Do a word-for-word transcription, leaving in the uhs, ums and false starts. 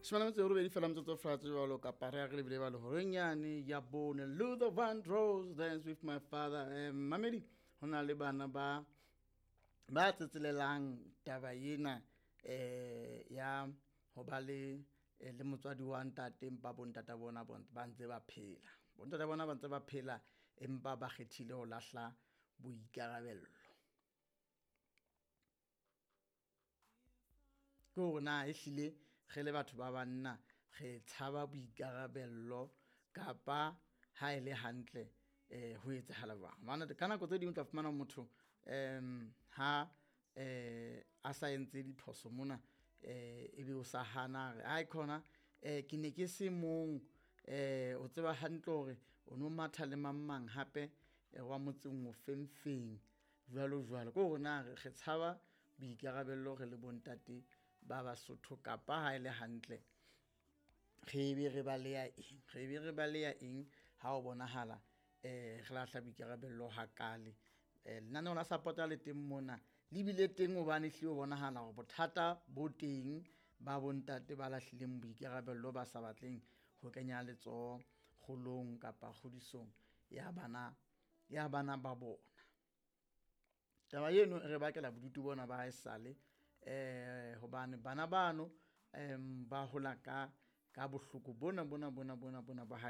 Shome a metso e robedi fela metsotso fela jwalo kapa re ya re lebile bale horeng yane ya bone. Luther Vandross, Dance With My Father. um mamedi, ho na le bana ba ba tsetselelang taba ena eh ya ho ba le eh, le motswadi wa ntate, empa bontata bona bon- ba ntse ba phela, bontata bona ba ntse ba phela, empa ba kgethile ho lahla boikarabello. Ke hore na ehlile re le batho ba banna re tshaba boikarabello kapa ha e le hantle eh ho etsahala jwang? Hobane ka nako tse ding o tla fumana motho um ha eh a sa entse diphoso mona, eh ebe o sa hana re ai khona eh ke ne ke se mong, eh o tseba hantle hore o no matha le mang mang hape eh, wa motseng o feng feng jwalo jwalo. Ke hore na re re tshaba boikarabello re le bontate ba Basotho kapa ha e le hantle re be re baleya eng, re be re baleya eng ha o bonahala eh re lahla boikarabello hakale? Eh, lenaneo la support-a le teng mona, le bile teng hobane ehlile ho bonahala hore bothata bo teng ba bontate ba lahlileng boikarabello, ba sa batleng ho kenya letsoho kgolong kapa kgodisong ya bana ya bana ba bona. Taba eno e re bakela bodutu bona ba haesale, eh hobane bana bano em ba hola ka ka bohloko bona bona bona bona bona ba hae.